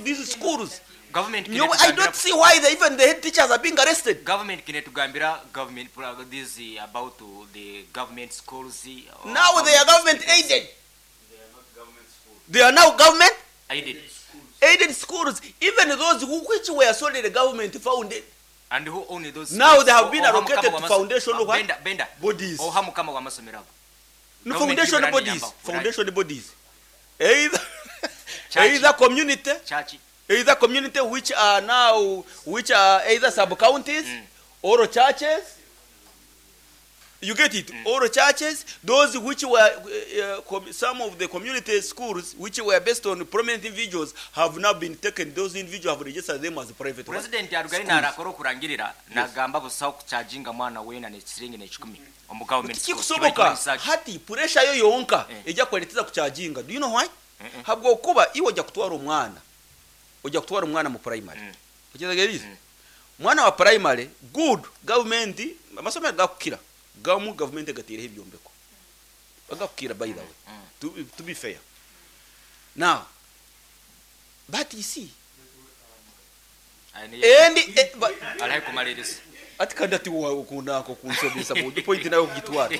these schools. Government Nyowe I don't see why the, even the head teachers are being arrested. Government kinetugambira government this about the government schools. Now they are government aided. They are now government aided. Aided schools, even those who, which were solely government founded. And who own those Now schools? they have been Oha allocated mukama to w'amaso- foundation what? Benda, Benda. Bodies. Oha mukama w'amasomero ago. No, Government foundation Ibrani bodies. yamba. Foundation bodies. Either, Church. either community, Church. either community which are now, which are either sub counties or churches. You get it? Or churches, those which were, some of the community schools which were based on prominent individuals have now been taken. Those individuals have registered them as private ones. President arugaine Schools. narakora okurangirira nagamba busaho kucharginga mwana weena n'ekisiringi n'ekikumi omu government school. Tikikusoboka. Kibaita Hati pressure yo yonka Eh. ejja kuleeteza kucharginga. Do you know why? Habwokuba iwe ojja kutwara omwana. Ojja kutwara omwana mu primary. Okitegeerize? Mwana wa primary good government amasomero gakukira. Gamu government gatiireho ebyombeko. Bagakukira by the way. To be fair. Now, but you see, and, but, Arahe kumaliriza. ati kandi ati wa okunda kunsobesa mu point nayo kugitwara.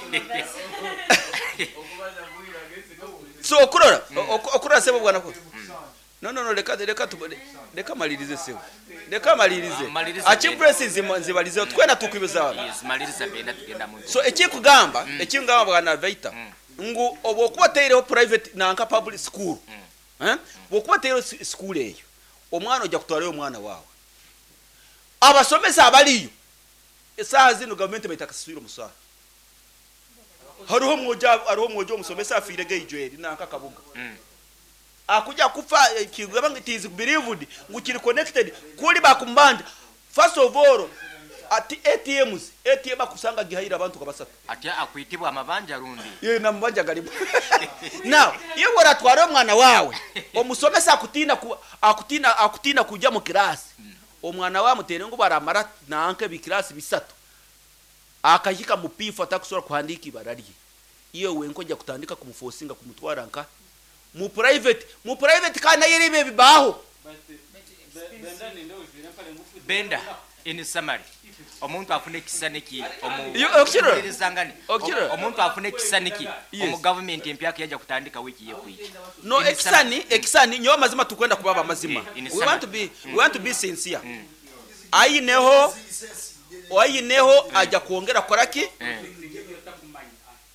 So okurora okurora sebo bwana ko. No no no, reka reka reka malirize sebo. Reka malirize. Malirize. Achieve nzibalize twena tukwibeza. Yes, maliriza Benda tugenda mu. So ekikugamba ekingamba bwana Vaita ngu obwokuba teireho private nanka public school. Eh? Bwokuba teireho school eyo. Omwana ojja kutwalayo omwana wawe. Abasomesa abaliyo esaaha zino gavumenti baitakasaswire omusaara. Hariho omwojo hariho omwojo omusomesa afiire geijweri nanka kabuga. Akuja kufa kigamba it is believed ngu kiri connected kuli bakumbanja. First of all ati ATMs ATM akusanga gihaira abantu kabasatu. Atya akwitibwa amabanja rundi. Ye na mabanja galimu. Now, iwe oratwara omwana wawe omusomesa akutina ku, akutina akutina kujya mu kirasi. Omwana wawe mutere ngo baramara nanka ebikirasi bisatu. Akahika mu pifu atakusobola kuhandika ibara rye. Iyo wenko ojja kutandika kumuforcinga kumutwara nka mu private, mu private kandi nayo eribe bibaho. Benda in summary omuntu afuna ekisaniki omu Yo, okukirora? Omuwuliriza Okukirora? Omuntu afuna ekisaniki Yes. omu government empyaka yajja kutandika wiiki yekwiki. No, In ekisani summary. ekisani nyowe amazima tukwenda kubaba amazima. In We summary. want to be we want to be sincere. Ayineho ayineho ajja kwongera koraki?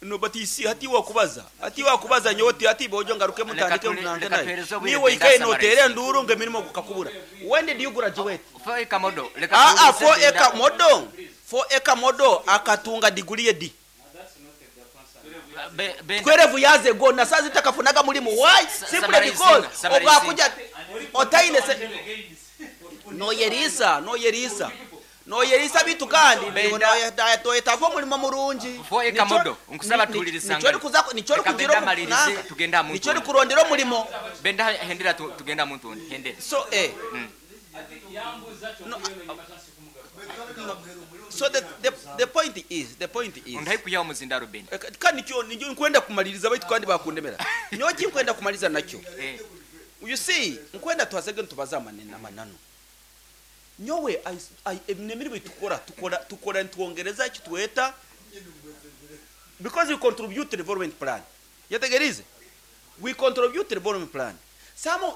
No, but you see, hati wakubaza hati wakubaza nyowe ti hati bojo ngaruke mutandike munange Reka naye. tuhereze obwire Niwe Benda ikaye summarize. notere nduru nge mirimo gukakubura. When did you graduate? 4 acre model. Reka Ah ah, tuhereze 4 Benda. acre model. 4 acre model akatunga degree ye D. Benda. 12 years ago na saa zitakafunaga mulimu. Why? Simply Summarize, because summarize. obwakuja otaine se noyerisa noyerisa noyerisa bitu kandi toyetaaga omulimo murungi. 4 acre model, nkusaba tuwuliriza ngalo. Nicho Reka kugira Benda amalirize, tugende amuntu nicho undi. kurondera omulimo. Benda hendera tugenda muntu undi hendera. So no, so the point is the point is Undai kuyaho muzindaro Benda. Kandi nikyo nikyo nkwenda kumaliriza baitu kandi bakundemera. Nyowe kinkwenda kumaliriza nakyo. You see, nkwenda tuhasege ntubaza amanene amanano. Nyowe emirimo tukora tukora tukora ntwongereza eki tweta because we contribute to development plan. Yetegerize. We contribute to development plan. Samo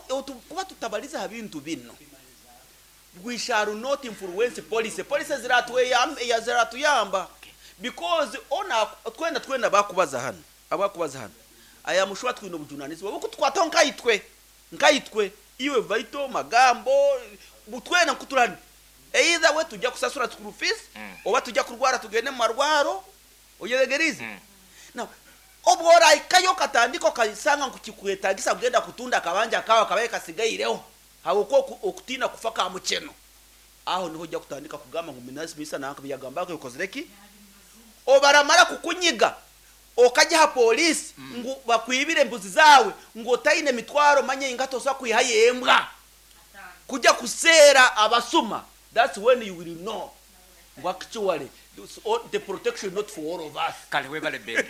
kuba tutabaliza bintu bino. We shall not influence policy. Policy ziratuyamba ziratuyamba. Because ona twenda twenda bakubaza hano. Abakubaza hano. Aya mushwa twino bujunanizwa. Buko twataho nkayitwe. Nkayitwe iwe vaito magambo butwena kuturani. Either we tujya kusasura school fees oba tujya kurwara tugende mu marwaro. Oyetegerize. Now obwora ikayo katandiko kayisanga nkukikwetagisa kugenda kutunda kabanja kawa kabaye kasigaireho. Hawuko okutina kufa ka mukeno. Aho niho ujya kutandika kugamba ngo minasi misa nanka biyagamba ko yokozereki. Obaramara kukunyiga okajya ha polisi ngu bakwibire mbuzi zawe ngo taine mitwaro manye ingato so kwihayembwa. Kujya kusera abasuma. That's when you will know. Actually, the protection not for all of us. Kale webale Benda.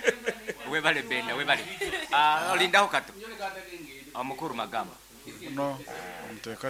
Webale Benda, webale. Lindaho kato. Omukuru magamba. No, muteka